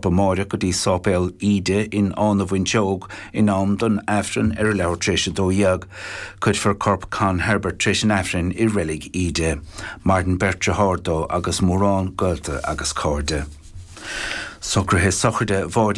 corp amáireach go dtí Sáipéal Íde in Áth na bhFuinseog in am don Aifreann ar a leathuair tar éis 12. Cuirfear corp Con Herbert tar éis an Aifrinn i Reilig Íde. Maireann beirt dearthár dó agus mórán gaolta agus cairde. Socruithe sochraide Mháirín.